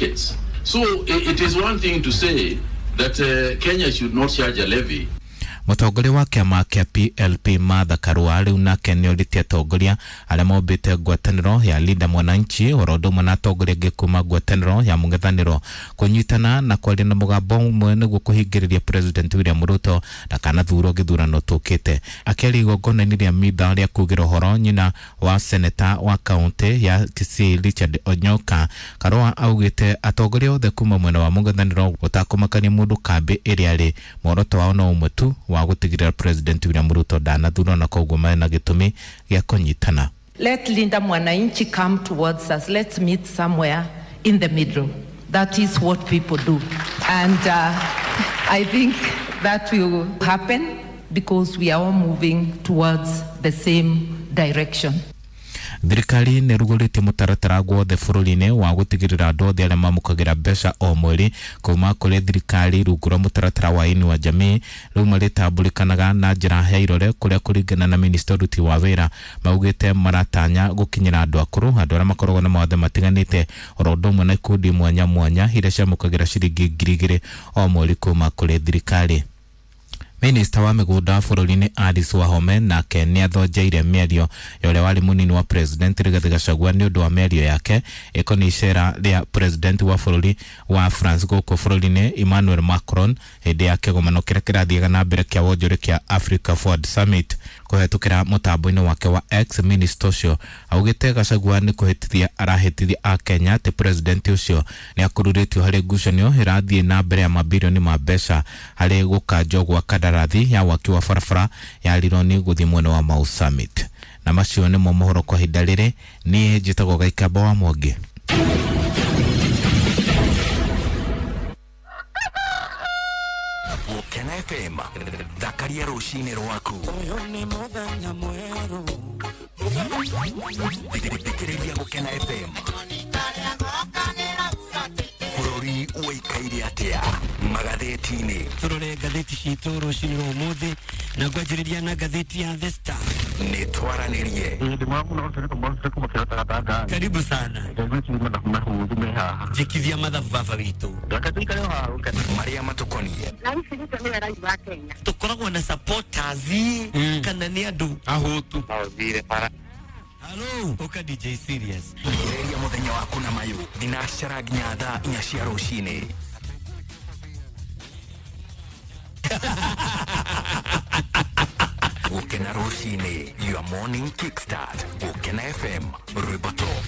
markets. So it is one thing to say that Kenya should not charge a levy. Mũtongoria wa kĩama kĩa PLP Martha Karua rĩu nake nĩorĩtie atongoria arĩa mombĩte ngwatanĩro ya Linda Mwananchi oro ũndũ ũmwe na atongoria angĩ kuma ngwatanĩro ya mũng'ethanĩro kũnyitana na kwaria na mũgambo ũmwe nĩguo kũhingĩrĩria President William Ruto ndakanathurwo gĩthurano tũkĩte. Akĩaria igongona-inĩ rĩa mitha rĩa kugĩra ũhoro nyina wa seneta wa kaũntĩ ya Kisii Richard Onyoka, Karua augĩte atongoria othe kuma mwena wa mũng'ethanĩro gũtakũmakania mũndũ kambĩ ĩrĩa arĩ, muoroto wao no ũmwe tu wa gũtigĩrĩra President William Ruto ndanathurwo na koguo mena gĩtũmi gĩa kũnyitana. Let Linda Mwananchi come towards us. Let's meet somewhere in the middle. That is what people do. And I think that will happen because we are all moving towards the same direction. Thirikari nĩ ĩrugũrĩtie mũtaratara guothe bũrũri-inĩ wa gũtigĩrĩra andũ othe arĩa mamũkagĩra mbeca o mweri kuma kũrĩ thirikari rungu rwa mũtaratara wa Inua Jamii rĩu marĩtambũrĩkanaga na njĩra ya irore kũrĩa kũringana na minista ũruti wa wĩra maugĩte maratanya gũkinyĩra andũ akũrũ, andũ arĩa makoragwo na mawathe matiganĩte oro ũndũ ũmwe na ikundi mwanya mwanya iria ciamũkagĩra ciringi 2,000 o mweri kuma kũrĩ thirikari. Minista wa mĩgũnda bũrũri-inĩ Alice Wahome nake nĩ athonjeire mĩario ya ũrĩa warĩ mũnini wa President Rigathi Gachagua nĩ ũndũ wa mĩario yake ĩkoniĩ icera rĩa President wa bũrũri wa France gũkũ bũrũri-inĩ Emmanuel Macron hĩndĩ ya kĩgomano kĩrĩa kĩrathiaga na mbere kĩa wonjoria kĩa Africa Forward Summit. Kũhetũkĩra mũtambo-inĩ wake wa X, minista ũcio augĩte Gachagua nĩ kũhĩtithia arahĩtithia Akenya atĩ President ũcio nĩ akururĩtio harĩ ngucanio ĩrathiĩ na mbere ya mabirioni ma mbeca harĩ gũkanjwo gwa kandarathi ya waki wa barabara ya Rironi gũthiĩ mwena wa Mau Summit. Na macio nĩmo mohoro kwa ihinda rĩrĩ. Niĩ njĩtagwo Gaikamba wa Mwangi. Gũkena FM, thakaria rũcinĩ rwaku. Thikĩrĩria Gũkena FM. Bũrũri ũikaire atĩa magathĩti-inĩ? Tũrore ngathĩti citũ rũcinĩ rwa ũmũthĩ na ngwanjĩrĩria na ngathĩti ya The Star. Nĩ twaranĩrie. Karibu sana. Njĩkithia mathabu baba witũ. Marĩa matũkoniĩ. Tũkoragwo na supporters kana nĩ andũ ahũtu. Hello, ũka DJ Serious. Ambĩrĩria mũthenya waku na mayũ thinacara nginya thaa 4 cia rũcinĩ. Gũkena rũcinĩ, your morning kickstart. Gũkena FM, rwĩmbo top.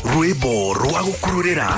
Rwĩmbo rwa gũkururĩra.